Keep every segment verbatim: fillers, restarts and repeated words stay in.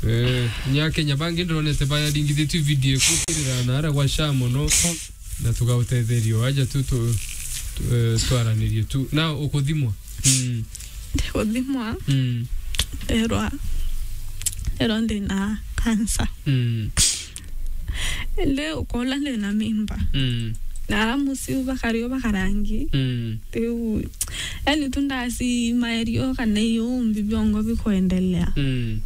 Eh, nya Kenya bangi ndonete bayaringithitue video ikukirira na ara gwa sha mono, na tugautetherio aja tu, tu, tu, eh, twaranirie tu. Na ukuthimwa? Mm. Ndikuthimwa. Mm. Nderwa, nderwa ndina cancer. Mm. Indi ukola ndina mimba. Mm. Na ara muciu bakario bakarangi. Mm. Riu, yani tu ndasi maerio kana iu mbi biongo bikwendelea. Mm.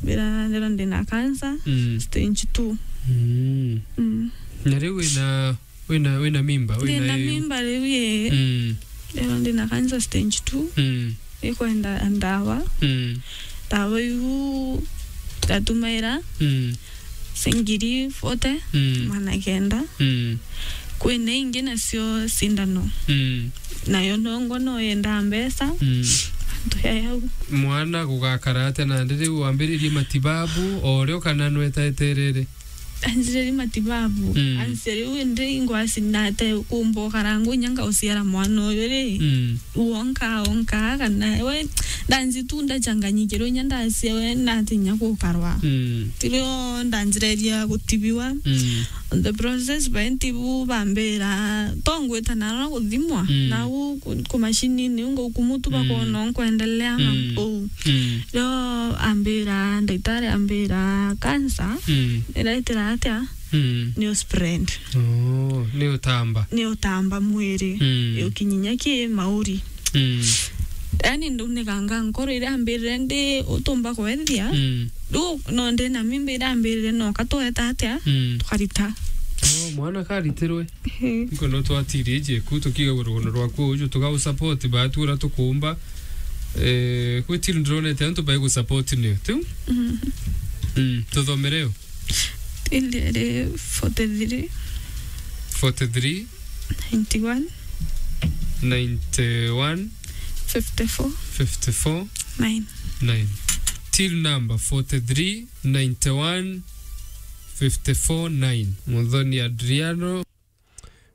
Bira ndero ndina cancer, mm, stage two. Mm. Mm. Na riu wina, wina, wina mimba, wina ndina iu? Mimba riu ye. Mm. Ndero ndina cancer stage two. Mm. Ikwenda ndawa. Mm. Ndawa iu ndatumaira. Mm. Singiri forty, mm, magana kenda. Mm. Kwina ingi nacio cindano. Mm. Nayo nongo no yendaa mbeca. Mm. Antu ya yau. Mwana gugakara atia nandi riu wambiririe matibabu o rio kana nwetaeterere? Anjiriri matibabu. Mm. Anse riu indi ingwasi nate kumba ukarangu inya ngauciara mwana uyu ri. Mm. Wonka, wonka, kana we, ndanzi tu ndachanganyikirwe, inya ndacia we, ndatinya gukarwa. Mm. Tirio ndanjireria gutibiwa. Mm. On the process, baintibu bambira, tongwita naro guthimwa. Mm. Nau ku, ku machinini, unga ukumu tu, mm, bakona nkwendelea na, mm, uu. Mm. Rio ambira, ndagitari ambira, cancer, mm, iraitira atia? Mm. Ni uspread. Oh, ni utamba. Ni utamba mwiri. Mm. Ukinyinya ki mauri. Mm. Yani, nduniganga nkoro iria ambirire ndi utumba kwethia. Mm. Riu no ndi na mimba iria ambirire no katweta atia? Mm. Tukarita. Oh, mwana karitirwe. Ehe. Nkwenda twatirie jeku, tukiga rugono rwaku uju, tuga usupport baatu uria tukumba. Eh, gwi till ndironete antu bai gusupport niu. Tiu? Mm. Mm, tuthomere yo. Till iri forty-three. Forty-three. Ninety-one. Ninety-one. Fifty-four. Fifty-four. Nine. Nine. Till number forty-three, ninety-one, fifty-four, nine. Muthoni Adriano.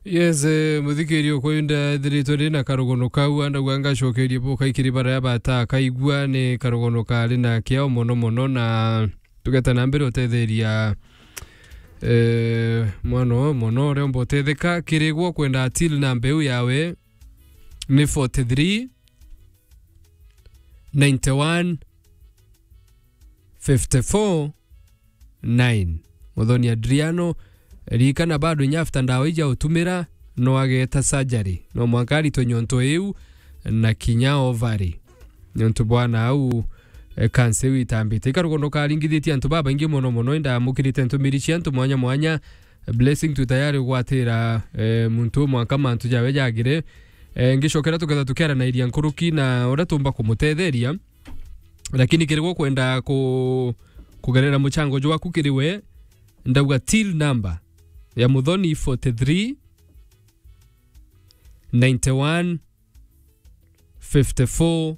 Yes, eh, muthikiri ukwa inda ethiritwe ndi na karugono kau, andauga ngacokerie buka ikiri baria bata akaigua ni karugono kari na kiao mono mono, na tugeta na mbere utetheria, eh, mwana uyu mono uria umba utetheka. Kirigwo kwenda till na mbeu yawe ni forty-three, ninety-one, fifty-four, nine. Muthoni Adriano, ririkana bado inya after ndawa ija utumira, no ageta surgery. No mwanka aritwe nyonto iu na kinya ovary. Nontu bwana au, eh, cancer iu itambite. Ikarugono karingithitie antu babaingi mono mono, indamukirite ntumiri cia antu mwanya mwanya. Blessing tu tayari gwatira, eh, muntu mwanka mantu jawe jagire. Eh, ngicokera tuketha tukiaranairia nkuruki na uria tumba kumutetheria. Lakini kirigwo kwenda ku-, kugerera muchango jwaku kiri we, ndauga till number ya Muthoni forty-three, ninety-one, fifty-four,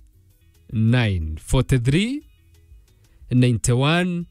nine. Forty-three, ninety-one,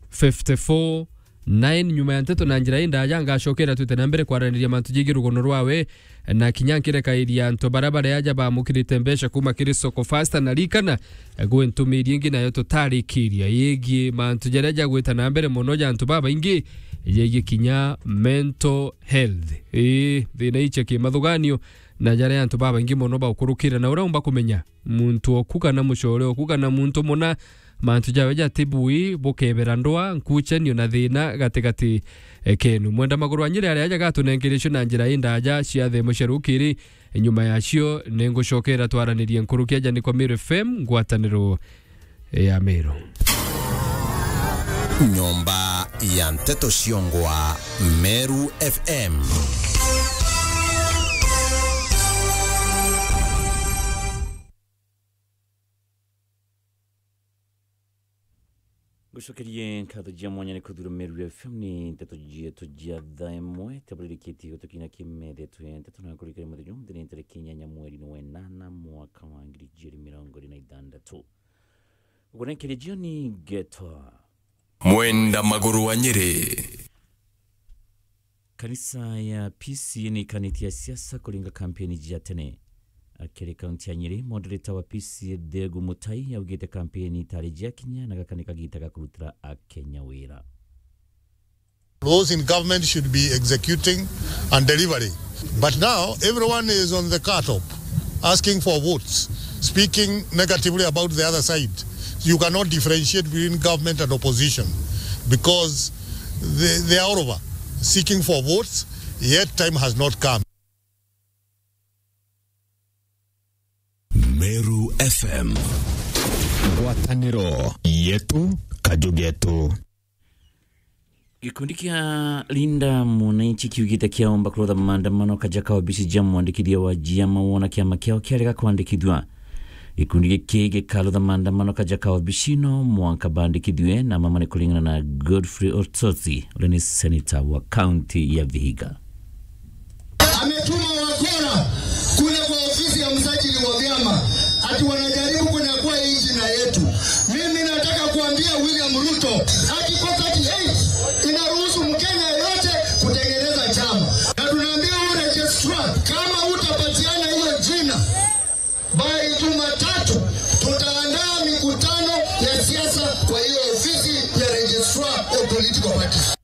fifty-four, nine. Nyuma ya nteto na njira indaja, ngacokera twite na mbere kwaraniria mantu jigi rugono rwawe, na kinya nkirekairia antu baria bari aja bamukirite mbeca kuma kiri Soko Fasta. Na rikana, gwi ntumiri ingi nayo tutarikiria yigii mantu jaria jagwita na mbere mono ja antu babaingi, yigii kinya mental health. Ii, thina icia kimathuganio, na jaria antu babaingi mono baukurukira, na uria umba kumenya muntu oku kana mucore oku kana muntu muna, mantu jawe jatibui, bukebera ndwa, nkuchanio na thina gatigati, eh, kenu. Mwenda maguru wa Nyeri aria aja gatunengerecio na njira indaja cia themo cia rukiri. Nyuma yacio, ningucokera twaranirie nkuruki aja ni kwa Meru F M, ngwataniro ya Meru. Nyomba ya nteto ciongwa, Meru F M. Ngucokerie nkatho jia mwanya ni kuthura Meru F M ni nteto jietu jia thaa imwe, tabulirikitie gutukina kimethetwe nteto na kurikira muthenya umunthi ni ntariki inyanya mweri ni wa inana mwaka wa ngiri ijiri mirongo iri na ithanthatu. Gukunenkeria jioni ngetwa Mwenda Maguru wa Nyeri. Kanisa ya P C A ni ikanitie siasa kuringa kampeni jia tene. Akiri kaunti ya Nyeri, moderator wa P C A Thegu Mutai augite kampeni itari jiakinya na gaka ni kagita ga kurutira Akenya wira. Those in government should be executing and delivering. But now, everyone is on the car top, asking for votes, speaking negatively about the other side. You cannot differentiate between government and opposition because they, they are all over seeking for votes, yet time has not come. Meru F M. Ngwataniro yetu, kaju getu. Gikundi kia Linda Mwananchi kiugite kiaomba kurutha maandamano kaja ka obici ja mwandikithia wa jiama wona kiama kiao kiarega kwandikithua. Gikundi giki gikarutha maandamano kaja ka obici no mwanka bandikithue na mama ni kuringana na Godfrey Otsotsi, uria ni senator wa kaunti ya Vihiga. Ametuma wakora kule kwa ofisi ya msajili wa vyama, ati wanajaribu kunyakua hii jina yetu. Mimi nataka kuambia William Ruto, Article thirty-eight inaruhusu Mkenya yeyote kutengeneza chama. Na tunaambia huyu registrar, kama utapatiana hiyo jina, by Jumatatu tutaandaa mikutano ya siasa kwa hiyo ofisi ya registrar of political parties.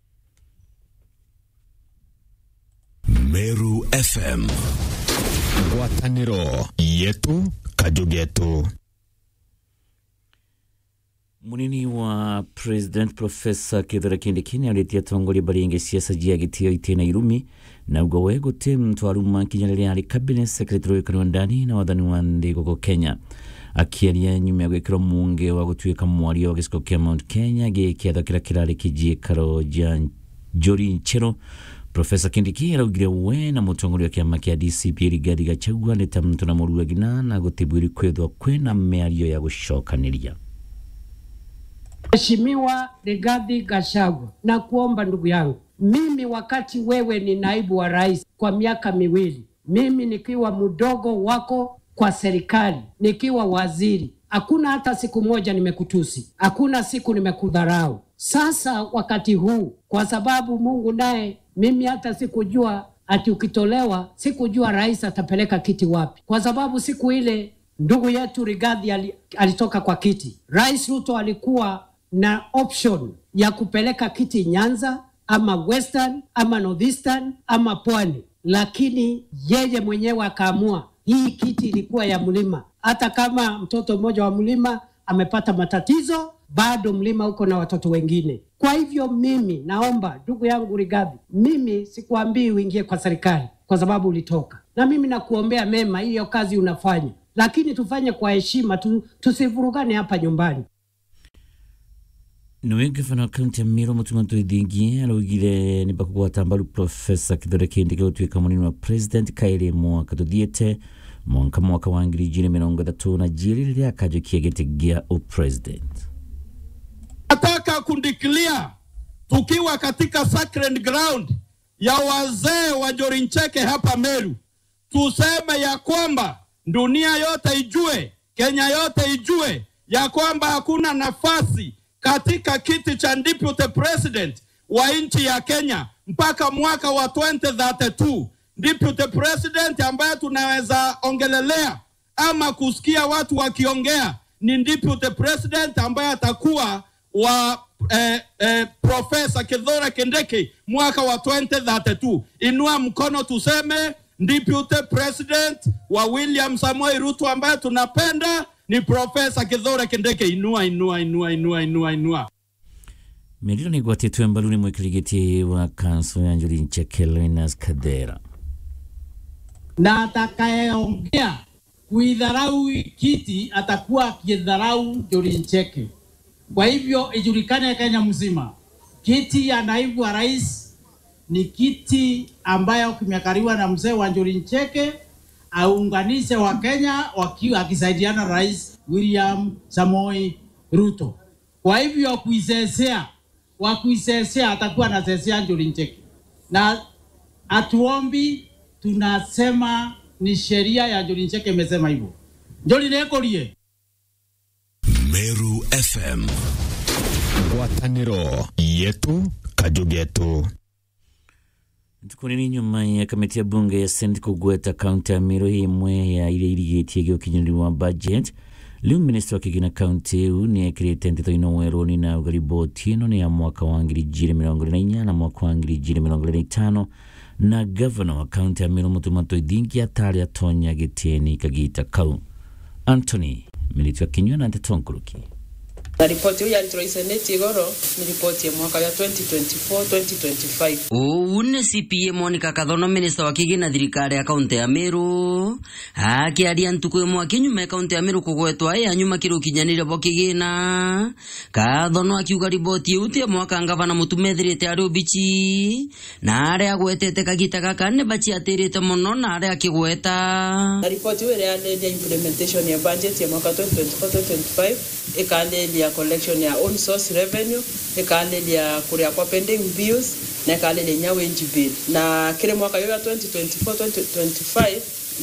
Meru F M. Ngwataniro yetu, kaju getu. Munini wa President Professor Kithure Kindiki niaritie atongoria baringi siasa jia gitio itina irumi, na uga we guti muntu aruma kinya riria ari cabinet secretary wa wikari wa ndani na wathani wa nthi guku Kenya. Akiaria nyuma ya gwikirwa muunge wa gutuika mwaria wa gicigo kia Mount Kenya gi kiatho kiria kirari kijiikaro ja Njuri Ncheru, Professor Kindiki araugire we na mutongoria wa kiama kia D C P Rigathi Gachagua ni ta muntu na muruagina na gutibwiri kwithwa kwina miario ya gucokaniria. Mheshimiwa Rigathi Gachagua, nakuomba ndugu yangu, mimi wakati wewe ni naibu wa rais kwa miaka miwili, mimi nikiwa mdogo wako kwa serikali, nikiwa waziri, hakuna hata siku moja nimekutusi, hakuna siku nimekudharau. Sasa wakati huu, kwa sababu Mungu naye, mimi hata sikujua ati ukitolewa, sikujua rais atapeleka kiti wapi, kwa sababu siku ile ndugu yetu Rigathi ali-, alitoka kwa kiti, Rais Ruto alikuwa na option ya kupeleka kiti Nyanza ama Western ama Northeastern ama Pwani, lakini yeye mwenyewe akaamua hii kiti ilikuwa ya mlima. Hata kama mtoto mmoja wa mlima amepata matatizo, bado mlima uko na watoto wengine. Kwa hivyo mimi naomba, ndugu yangu Rigathi, mimi sikuambii uingie kwa serikali kwa sababu ulitoka, na mimi nakuombea mema, hiyo kazi unafanya, lakini tufanye kwa heshima tu, tusivurugane hapa nyumbani. Niwe ngavana wa kaunti ya Meru, Mutuma M'Ethingia, araugire ni bakugwata mbaru Professor Kithure Kindiki gutuika munini wa president kairi mwaka tuthiite, mwanka mwaka wa ngiri ijiri mirongo ithatu na jiiri riria akajukia giti gia upresident. Nataka kudeclare tukiwa katika sacred ground ya wazee wa Njuri Ncheke hapa Meru, tuseme ya kwamba dunia yote ijue, Kenya yote ijue ya kwamba hakuna nafasi katika kiti cha deputy president wa nchi ya Kenya mpaka mwaka wa twenty thirty-two. Deputy president ambaye tunaweza ongelelea ama kusikia watu wakiongea ni deputy president ambaye atakuwa wa, eh, eh, Professor Kithure Kindiki mwaka wa twenty thirty-two. Inua mkono tuseme, deputy president wa William Samoei Ruto ambaye tunapenda ni Professor Kithure Kindiki. Inua, inua, inua, inua, inua, inua. Miriro ni igwatitwe mbaru ni mwikirigiti wa kanso ya Njuri Ncheke, Linus Kadera. Na atakayeongea kuidharau kiti atakuwa akidharau Njuri Ncheke. Kwa hivyo ijulikane Kenya mzima, kiti ya naibu wa rais ni kiti ambayo kimekaliwa na mzee wa Njuri Ncheke, aunganishe wa Kenya waki-, akisaidiana na Rais William Samoei Ruto. Kwa hivyo kuisesea, wa kuisesea atakuwa anasesea Njuri Ncheke. Na hatuombi, tunasema ni sheria ya Njuri Ncheke imesema hivyo. Njuri nikurie. Meru F M. Ngwataniro yetu, kaju getu. Ntuku nini nyuma ya kamiti ya bunge ya Senate kugweta kaunti ya Meru imwe ya iria irigitie gukinyaniria wa budget, riu minista wa kigina kaunti iu ni ekirite nteto ino weruni na auga riboti ino ni ya mwaka wa ngiri igiri mirongo iri na inya na mwaka wa ngiri igiri mirongo iri na itano, na gavana wa kaunti ya Meru Mutuma M'Ethingia atari atonya gitieni kagita kau. Anthony Miritu akinyua na nteto nkuruki. Na ripoti iu yaritirwe i Senate igoro ni ripoti ya mwaka ya twenty twenty-four, twenty twenty-five. Uu ni C P A Monica Kathono, minista wa kigina thirikari ya kaunti ya Meru, akiaria ntuku imwe akinyuma ya kaunti ya Meru kugwetwa ya nyuma kiri ukinyaniria bwa kigina. Kathono akiuga riboti iu ti ya mwaka ngavana Mutuma ethirite ari ubichi, na aria agwetete kagita gaka ni baciatirite mono na aria akigweta. Na ripoti iu iriariria implementation ya budget ya mwaka twenty twenty-four twenty twenty-five, ikariria collection ya own source revenue, ikariria kuria kwa pending bills, na ikariria inya wage bill. Na kiri mwaka uyu wa twenty twenty-four twenty twenty-five,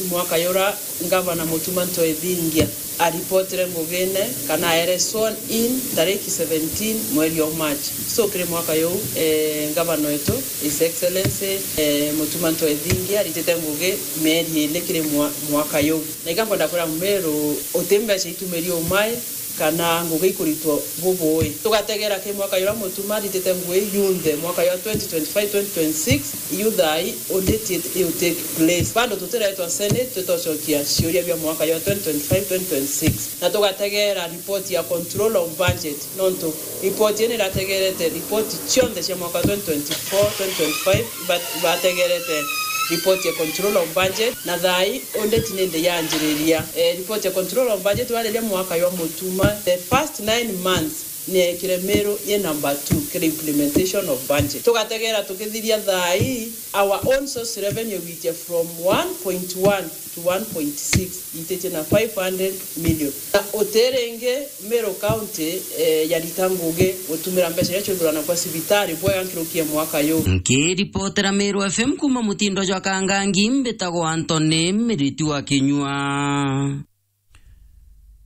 mwaka uria Gavana Mutuma M'Ethingia aripotire ngugine kana aere sworn in tariki seventeen mweri wa March. So, kiri mwaka uyu, eh, Gavana wetu, His Excellency, eh, Mutuma M'Ethingia aritite ngugi mieri iri kiri mwa-, mwaka uyu. Na iga nkwenda kwira Mumeru, uti mbeca itumiri umai, kana ngugi ikuritwa bubui. Tugategera ki mwaka uria Mutuma aritite ngugi yunthe, mwaka uyu wa twenty twenty-five twenty twenty-six, iu thaai undi ti-, iu take place. Bado tutiretwa Senate, twitocokia ciuria bia mwaka uyu wa twenty twenty-five twenty twenty-six. Na tugategera report ya control of budget, nontu report ii nirategerete report cionthe cia mwaka twenty twenty-four twenty twenty-five, iba-, ibategerete report ya control of budget, na thaai audit nindi yanjiriria. Eh, report ya control of budget wariria mwaka jwa Mutuma, the first nine months ni ekire Meru ye number two kiri implementation of budget. Tugategera tukithiria thaai, our own source revenue gwitia from one point one to one point six, ititie na five hundred million. Na utiringi Meru County, eh, yarita ngugi gutumira mbeca iria ciuthurana kwa cibitari bwega nkiruki ya mwaka yu. Nkiripotera Meru F M kuma mutindo jwa Kangangi, mbitagwa Anthony Miritu wa Kinyua.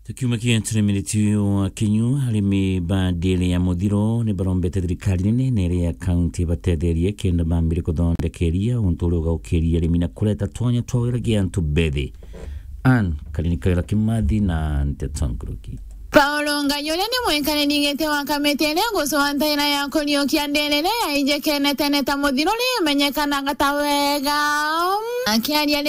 Tukiuma kientune Miritu wa Kinyua, arimi ba ndiri ya muthiro ni barombete thirikari nene na iria ya kaunti batetherie kenda bambire kuthondekeria untu uria ugaukiria arimi na kureta twanya twa wira gia antu bethi. Ann Karini Kaira Kimathi na nteto nkuruki. Paulo Ngai uria ni mwikariri giti wa kamiti iria igucwa ntaira ya kuriukia ndiri iria yaijikene tene ta muthiro riu imenyekanaga ta wega. Akiaria